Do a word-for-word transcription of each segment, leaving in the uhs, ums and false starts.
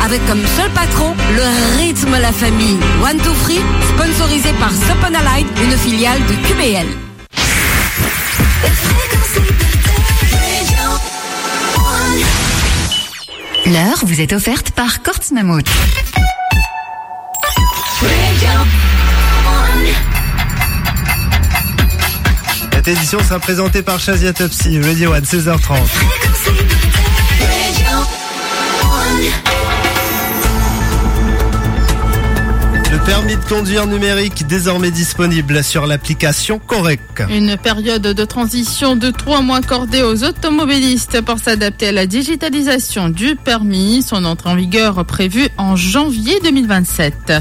Avec comme seul patron le rythme la famille. One Two Free, sponsorisé par Soponalite, une filiale de Q B L. L'heure vous est offerte par Courts Mammouth. Cette édition sera présentée par Shazia Topsy, Radio One, seize heures trente. Le permis de conduire numérique désormais disponible sur l'application Correc. Une période de transition de trois mois accordée aux automobilistes pour s'adapter à la digitalisation du permis. Son entrée en vigueur prévue en janvier deux mille vingt-sept.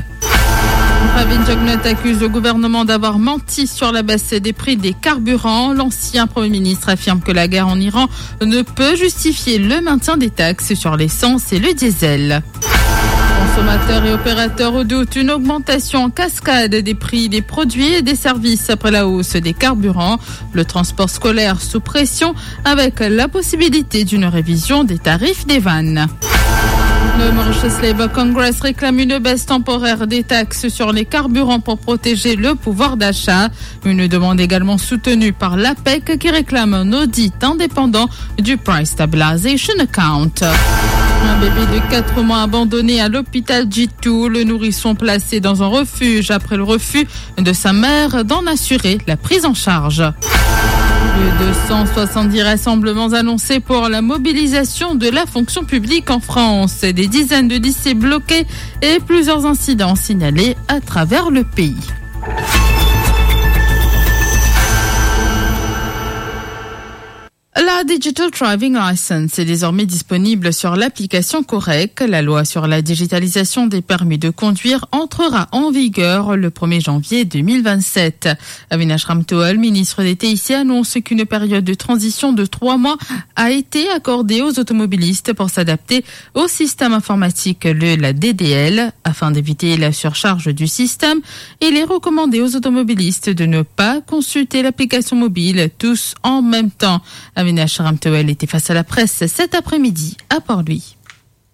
Pravin Jugnauth accuse le gouvernement d'avoir menti sur la baisse des prix des carburants. L'ancien Premier ministre affirme que la guerre en Iran ne peut justifier le maintien des taxes sur l'essence et le diesel. Consommateurs et opérateurs redoutent une augmentation en cascade des prix des produits et des services après la hausse des carburants. Le transport scolaire sous pression avec la possibilité d'une révision des tarifs des vannes. Le Mauritius Labour Congress réclame une baisse temporaire des taxes sur les carburants pour protéger le pouvoir d'achat. Une demande également soutenue par l'APEC qui réclame un audit indépendant du Price Stabilization Account. Un bébé de quatre mois abandonné à l'hôpital Djitou. Le nourrisson placé dans un refuge après le refus de sa mère d'en assurer la prise en charge. Plus de cent soixante-dix rassemblements annoncés pour la mobilisation de la fonction publique en France. Des dizaines de lycées bloqués et plusieurs incidents signalés à travers le pays. La Digital Driving License est désormais disponible sur l'application Correc. La loi sur la digitalisation des permis de conduire entrera en vigueur le premier janvier deux mille vingt-sept. Avinash Ramtohul, ministre des T I C, annonce qu'une période de transition de trois mois a été accordée aux automobilistes pour s'adapter au système informatique, le, la D D L. Afin d'éviter la surcharge du système, il est recommandé aux automobilistes de ne pas consulter l'application mobile tous en même temps. Avinash Ramtohul était face à la presse cet après-midi à Port-Louis.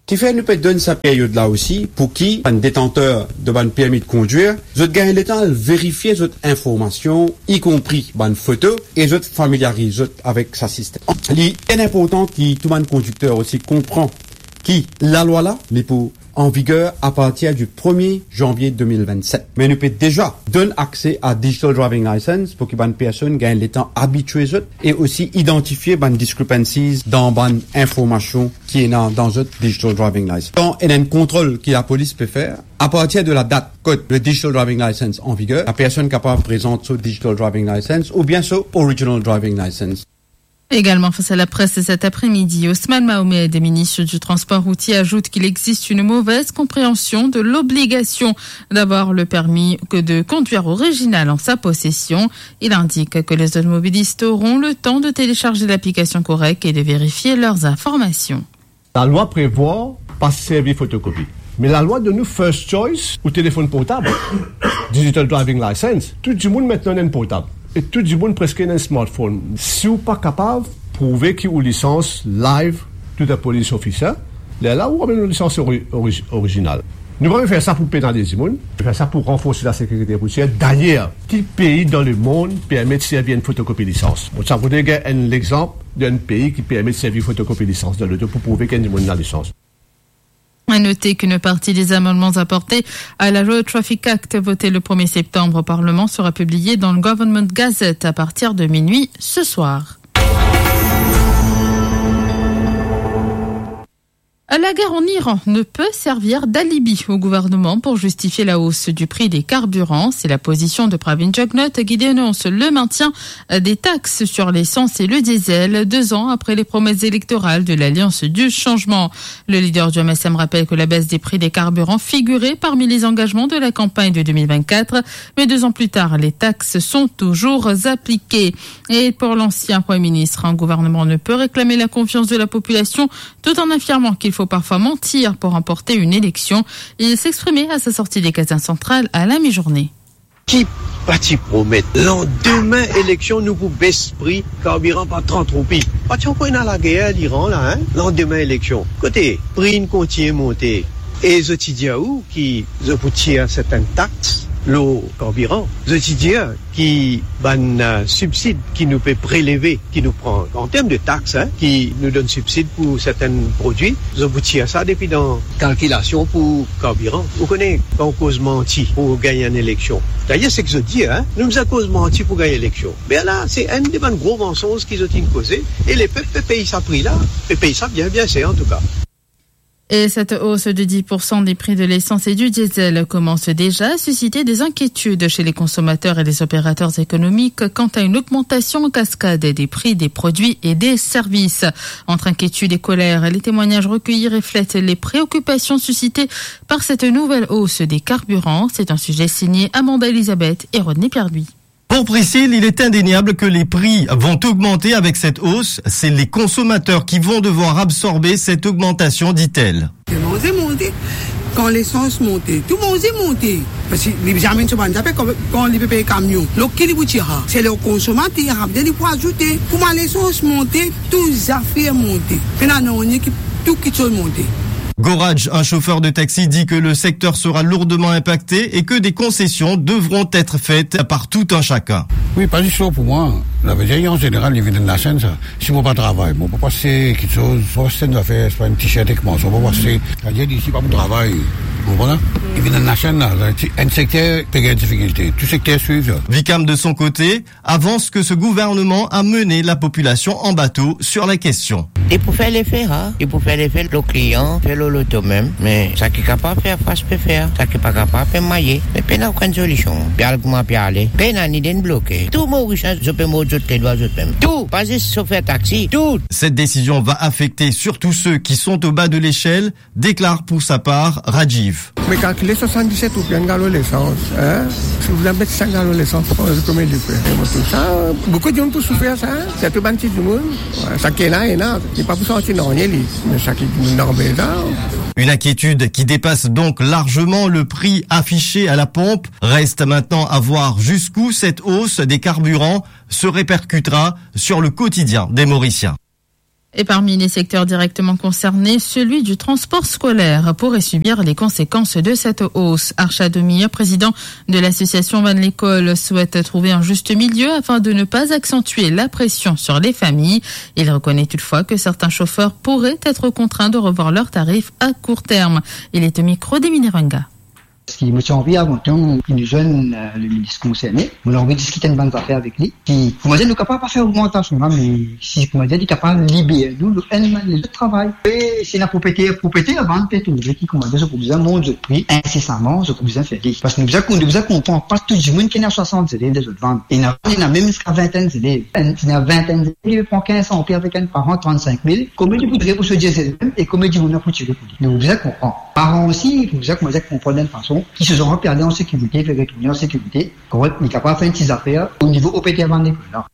Kifer nou pe donn sa peryod la osi, pou ki bann detanter de bann permi de kondwir, zot gagn letan al verifie zot informasion, ikonpri bann foto, e zot familiariz zot avek sa sistem. Li bien inportan ki tou bann kondikter osi konpran ki lalwa la, li pou an viger apartir di premie zanvie de mil vennset. Me nou pe deza donn akse a digital driving license pou ki bann personn gagn letan abitie zot e osi idantifie bann discrepancies dan bann informasion ki ena dan zot digital driving license. Kan ena enn kontrol ki lapolis pe fer, apartir de la dat kot le digital driving license an viger, la personn kapav prezant so digital driving license oubien so original driving license. Également face à la presse cet après-midi, Ousmane Mahomed, ministre du Transport routier, ajoute qu'il existe une mauvaise compréhension de l'obligation d'avoir le permis que de conduire original en sa possession. Il indique que les automobilistes auront le temps de télécharger l'application Correc et de vérifier leurs informations. Lalwa prevwar pa servi fotokopi. Me lalwa donn nou first choice ou telefonn portab. Digital driving license. Tou dimoun aster ena enn portab. E tou dimoun preske ena enn smartphone. Si ou pa kapav prouve ki ou lisans live to the police officer, lerla ou amenn ou lisans ori-, ori-, original. Nou pa pe fer sa pou penaliz dimoun, nou fer sa pou ranforse lasekirite routier. Dayer, ki pei dan lemond permet servi enn fotokopi lisans? Bon, sa voudre gagn enn lexanp d'enn pei ki permet servi fotokopi lisans dan loto pou prouve ki enn dimoun ena lisans. À noter qu'une partie des amendements apportés à la Road Traffic Act votée le premier septembre au Parlement sera publiée dans le Government Gazette à partir de minuit ce soir. La guerre en Iran ne peut servir d'alibi au gouvernement pour justifier la hausse du prix des carburants. C'est la position de Pravin Jugnauth qui dénonce le maintien des taxes sur l'essence et le diesel, deux ans après les promesses électorales de l'Alliance du Changement. Le leader du M S M rappelle que la baisse des prix des carburants figurait parmi les engagements de la campagne de deux mille vingt-quatre, mais deux ans plus tard, les taxes sont toujours appliquées. Et pour l'ancien Premier ministre, un gouvernement ne peut réclamer la confiance de la population tout en affirmant qu'il faut parfois mentir pour remporter une élection. Il s'exprimait à sa sortie des Caserne Centrale à la mi-journée. Ki pa ti promet, landime eleksion nou pou bes pri karbiran par trant roupi. Pa ti ankor ena lager Liran la, hein? Landime eleksion, kote pri inn kontign monte? E zot ti dir ou ki zot pou tir sertin tax lor karbiran. Zot ti dir ki bann, eh, sibsid ki nou pe preleve, ki nou pran an term de tax, hein, ki nou donn sibsid pou sertin prodwi, zot pou tir sa depi dan kalkilasion pou karbiran. Ou kone, kan ou koz manti pou gagn enn eleksion, dayer seki zot dir, hein, nou bizin koz manti pou gagn eleksion. Me la, se enn de bann gro mansonz ki zot inn koze, e lepep pe pey sa pri la, pe pey sa bien, bien ser antouka. Et cette hausse de dix pour cent des prix de l'essence et du diesel commence déjà à susciter des inquiétudes chez les consommateurs et les opérateurs économiques quant à une augmentation en cascade des prix des produits et des services. Entre inquiétude et colère, les témoignages recueillis reflètent les préoccupations suscitées par cette nouvelle hausse des carburants. C'est un sujet signé Amanda Elisabeth et Rodney Pierre-Louis. Pour Priscille, il est indéniable que les prix vont augmenter avec cette hausse. C'est les consommateurs qui vont devoir absorber cette augmentation, dit-elle. Manze monte, kan lesans monte, tou manze monte. Parski li bizin amenn so bann zafer, kan, kan li pe pey kamion. Donk ki li pou tir? Se le konsomater, apre li pou azoute. Kouma lesans monte, tou zafer monte. Pena nanye ki, tou kiksoz monte. Goradj, un chauffeur de taxi, dit que le secteur sera lourdement impacté et que des concessions devront être faites par tout un chacun. Wi, pa zis pou mwa. Savedir, an zeneral, li vinn enn lasenn sa. Si mo pa travay, mo pa pase kiksoz, mo pa pase enn zafer, se pa enn t-shirt ek manson, mo pa pase. Savedir, si pa mo travay, ou konpran? Li vinn enn lasenn la, enn sekter pe gagn difikilte. Tou sekter swiv sa. Vicam, de son côté, avance que ce gouvernement a mené la population en bateau sur la question. Li pou fer lefe, ha? Li pou fer lefe lor klian, fer lor loto mem. Me sa ki kapav fer fas pe fer, sa ki pa kapav pe maye. Me pena okenn solision. Pe al kouma pe ale. Pena, ni de inn bloke. Tou Morisien, zot pe mord zot ledwa zot mem. Tou, pa zis sofer taxi, tou. Cette décision va affecter surtout ceux qui sont au bas de l'échelle, déclare pour sa part Rajiv. Me kalkile swasanndiset roupi enn galon lesans, hein? Si ou bizin met sink galon lesans, konbien li fer? E mo trouv sa, boukou dimoun pou soufer sa, hein? Sirtou bann ti dimoun. Wi, sa ki ena, ena, li pa pou santi nanye li. Me sa ki dimoun normal sa. Une inquiétude qui dépasse donc largement le prix affiché à la pompe. Reste maintenant à voir jusqu'où cette hausse des carburants se répercutera sur le quotidien des Mauriciens. Et parmi les secteurs directement concernés, celui du transport scolaire pourrait subir les conséquences de cette hausse. Arshad Omiya, président de l'association Bann Lekol, souhaite trouver un juste milieu afin de ne pas accentuer la pression sur les familles. Il reconnaît toutefois que certains chauffeurs pourraient être contraints de revoir leurs tarifs à court terme. Il est au micro d'Emile Ranga. Parski mo ti anvi avan tou ki nou zwenn, eh, le minis konserne, mo anvi diskit enn bann zafer avek li, ki, koumadir nou kapav pa fer ogmantasion la, me si, koumadir, li kapav liber nou, nou enn bann lezot travay. E si ena propriyeter, propriyeter, avan pe trouve ki, koumadir, zot pou bizin mont zot pri insesaman, zot pou bizin fer li. Parski nou bizin, nou bizin konpran, pa tou dimoun ki ena swasant zelev dan zot vann. Ena, ena mem ziska vintenn zelev. Enn, ena vintenn zelev, li pran kinz san roupi avek enn paran, trannsink mil. Konbien li pou tire pou so diesel mem, e konbien dimoun la pou tire pou li? Nou bizin konpran. Paran osi, pou bizin, koumadir, konpran enn fason ki so zanfan pe ale an sekirite, pe retourne an sekirite, kouma li kapav fer enn ti zafer o nivo propriyeter bann lekol la.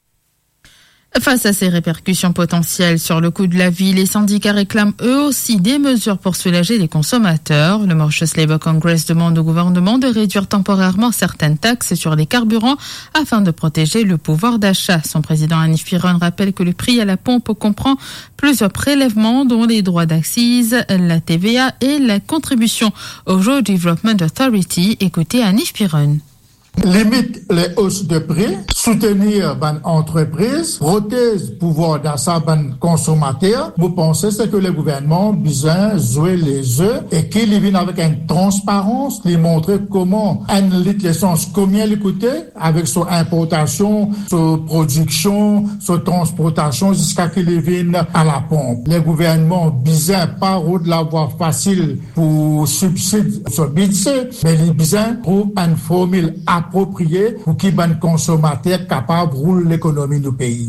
Face à ces répercussions potentielles sur le coût de la vie, les syndicats réclament eux aussi des mesures pour soulager les consommateurs. Le Mauritius Labour Congress demande au gouvernement de réduire temporairement certaines taxes sur les carburants afin de protéger le pouvoir d'achat. Son président Hanif Piron rappelle que le prix à la pompe comprend plusieurs prélèvements, dont les droits d'accise, la T V A et la contribution au Rural Development Authority. Écoutez Hanif Piron. Limit les hausses de prix, soutenir bann antrepriz, protez pouvwar dasa bann konsomater. Mo panse se ke le gouvernman bizin zwe le ze e ki li vinn avek enn transparans, li montre kouma enn lit lesans, konbien li koute, avek so inportasion, so prodiksion, so transportasion, ziska ki li vinn a la ponp. Le gouvernman bizin pa rod lavwa fasil pou sibsid so bidze, me li bizin trouv enn formil apropriye pou ki bann konsomater kapav roul lekonomi nou pei.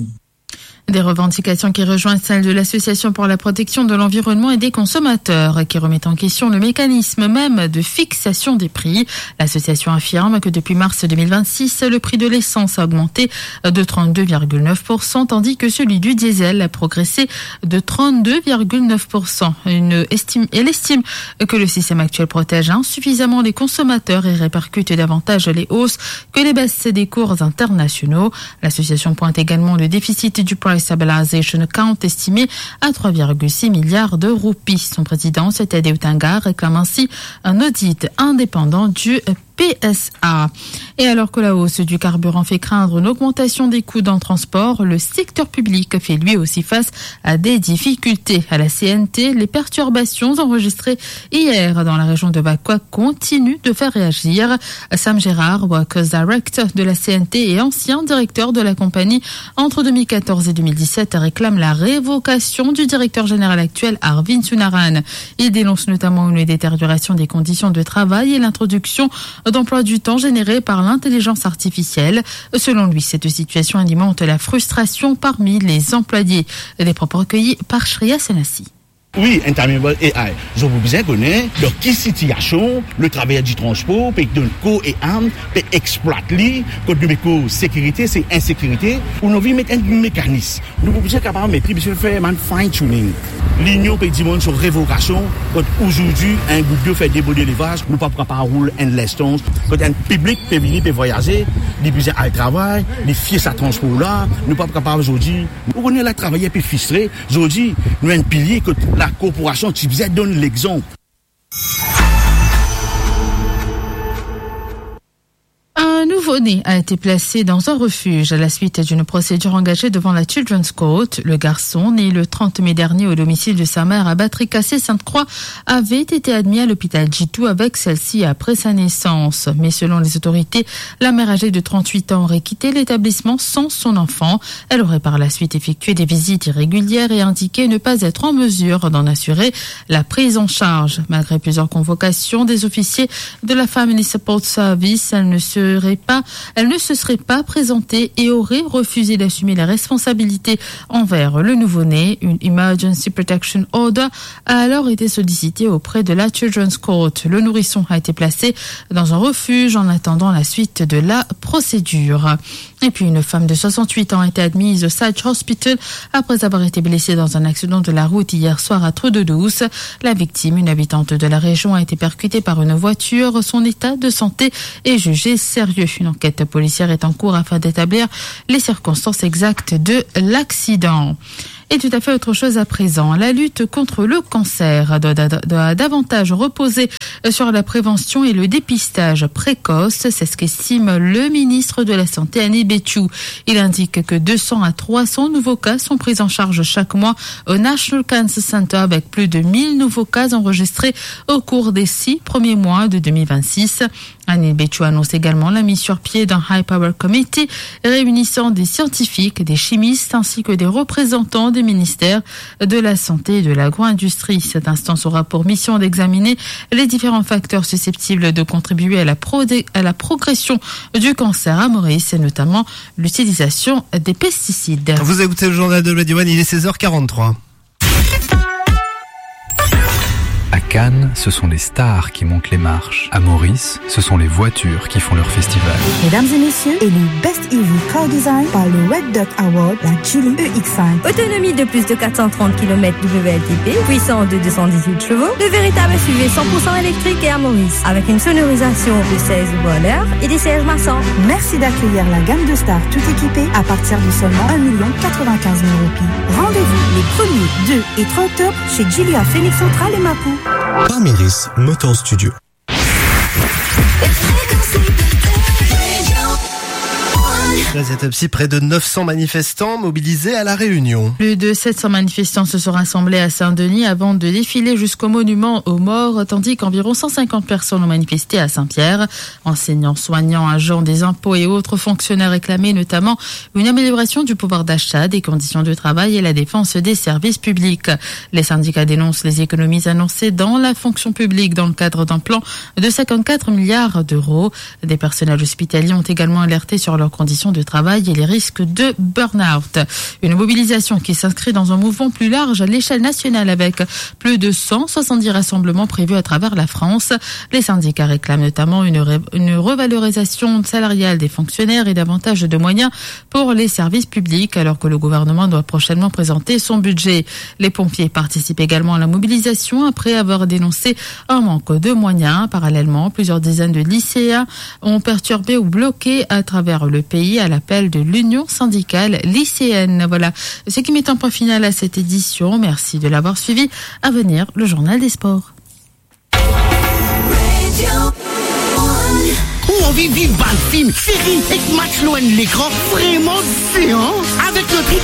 Des revendications qui rejoignent celles de l'Association pour la protection de l'environnement et des consommateurs, qui remet en question le mécanisme même de fixation des prix. L'association affirme que depuis mars deux mille vingt-six, le prix de l'essence a augmenté de trente-deux virgule neuf pour cent, tandis que celui du diesel a progressé de trente-deux virgule neuf pour cent. Une estime, elle estime que le système actuel protège insuffisamment les consommateurs et répercute davantage les hausses que les baisses des cours internationaux. L'association pointe également le déficit du price Stabilization Account estimé à trois virgule six milliards de roupies. Son président, Sethia Deotanga, réclame ainsi un audit indépendant du P S A. Et alors que la hausse du carburant fait craindre une augmentation des coûts dans le transport, le secteur public fait lui aussi face à des difficultés. À la C N T, les perturbations enregistrées hier dans la région de Vacoas continuent de faire réagir. Sam Gérard, Workers Director de la C N T et ancien directeur de la compagnie entre deux mille quatorze et deux mille dix-sept, réclame la révocation du directeur général actuel, Arvind Sounarayan. Il dénonce notamment une détérioration des conditions de travail et l'introduction d'emplois du temps générés par l'intelligence artificielle. Selon lui, cette situation alimente la frustration parmi les employés. Des propos recueillis par Shreya Senassi. Wi, enn time able A I. Zot pou bizin kone dan ki sitiasion le travayer di transpor pe donn kor e am, pe explwat li, kot nou pe koz sekirite, se insekirite, ou nou anvi met enn mekanis. Nou pou bizin kapav met li, bizin fer bann fine tuning. Linion pe dimann so revokasion, kot azordi enn gout dilo fer deborde levaz, nou pa pou kapav roul enn lestans, kot enn piblik pe vini, pe vwayaze, li bizin al travay, li fie sa transpor la, nou pa pou kapav azordi. Ou kone la travayer pe fristre, zordi, nou enn pilie kot lakorporasion ti bizin donn lexanp. Un nouveau-né a été placé dans un refuge à la suite d'une procédure engagée devant la Children's Court. Le garçon, né le trente mai dernier au domicile de sa mère à Batrika, Sainte-Croix, avait été admis à l'hôpital Djitou avec celle-ci après sa naissance. Mais selon les autorités, la mère âgée de trente-huit ans aurait quitté l'établissement sans son enfant. Elle aurait par la suite effectué des visites irrégulières et indiqué ne pas être en mesure d'en assurer la prise en charge. Malgré plusieurs convocations des officiers de la Family Support Service, elle ne serait pas, elle ne se serait pas présentée et aurait refusé d'assumer les responsabilités envers le nouveau-né. Une Emergency Protection Order a alors été sollicitée auprès de la Children's Court. Le nourrisson a été placé dans un refuge en attendant la suite de la procédure. Et puis, une femme de soixante-huit ans a été admise au Sage Hospital après avoir été blessée dans un accident de la route hier soir à Trou-d'Eau-Douce. La victime, une habitante de la région, a été percutée par une voiture. Son état de santé est jugé sérieux. Une enquête policière est en cours afin d'établir les circonstances exactes de l'accident. Et tout à fait autre chose à présent. La lutte contre le cancer doit, doit davantage reposer sur la prévention et le dépistage précoce. C'est ce qu'estime le ministre de la Santé, Anil Bechu. Il indique que deux cents à trois cents nouveaux cas sont pris en charge chaque mois au National Cancer Center, avec plus de mille nouveaux cas enregistrés au cours des six premiers mois de deux mille vingt-six. Anil Bechu annonce également la mise sur pied d'un High Power Committee réunissant des scientifiques, des chimistes ainsi que des représentants des ministères de la Santé et de l'agro-industrie. Cette instance aura pour mission d'examiner les différents facteurs susceptibles de contribuer à la pro-, à la progression du cancer à Maurice, et notamment l'utilisation des pesticides. Vous écoutez le journal de Radio One, il est seize heures quarante-trois. À Cannes, ce sont les stars qui montent les marches. À Maurice, ce sont les voitures qui font leur festival. Mesdames et messieurs, élu Best E V Car Design par le Red Dot Award, la Geely E X cinq. Autonomie de plus de quatre cent trente kilomètres W L T P, puissance de deux cent dix-huit chevaux, le véritable S U V cent pour cent électrique et à Maurice, avec une sonorisation de seize haut-parleurs et des sièges massants. Merci d'accueillir la gamme de stars tout équipée à partir de seulement un million quatre-vingt-quinze mille roupies. Rendez-vous les premier, deux et trois octobre chez Geely à Phoenix Central et Mapou. Parmiris Motor Studio. Dans cette autopsie, près de neuf cents manifestants mobilisés à La Réunion. Plus de sept cents manifestants se sont rassemblés à Saint-Denis avant de défiler jusqu'au monument aux morts, tandis qu'environ cent cinquante personnes ont manifesté à Saint-Pierre. Enseignants, soignants, agents des impôts et autres fonctionnaires réclamaient notamment une amélioration du pouvoir d'achat, des conditions de travail et la défense des services publics. Les syndicats dénoncent les économies annoncées dans la fonction publique dans le cadre d'un plan de cinquante-quatre milliards d'euros. Des personnels hospitaliers ont également alerté sur leurs conditions de travail et les risques de burn-out. Une mobilisation qui s'inscrit dans un mouvement plus large à l'échelle nationale, avec plus de cent soixante-dix rassemblements prévus à travers la France. Les syndicats réclament notamment une ré-, une revalorisation salariale des fonctionnaires et davantage de moyens pour les services publics, alors que le gouvernement doit prochainement présenter son budget. Les pompiers participent également à la mobilisation après avoir dénoncé un manque de moyens. Parallèlement, plusieurs dizaines de lycéens ont perturbé ou bloqué à travers le pays l'appel de l'Union syndicale lycéenne. Voilà ce qui met un point final à cette édition. Merci de l'avoir suivi. À venir, le journal des sports. Ou anvi viv bann fim, seri ek match lor enn lekran vremem zean? Avek lotri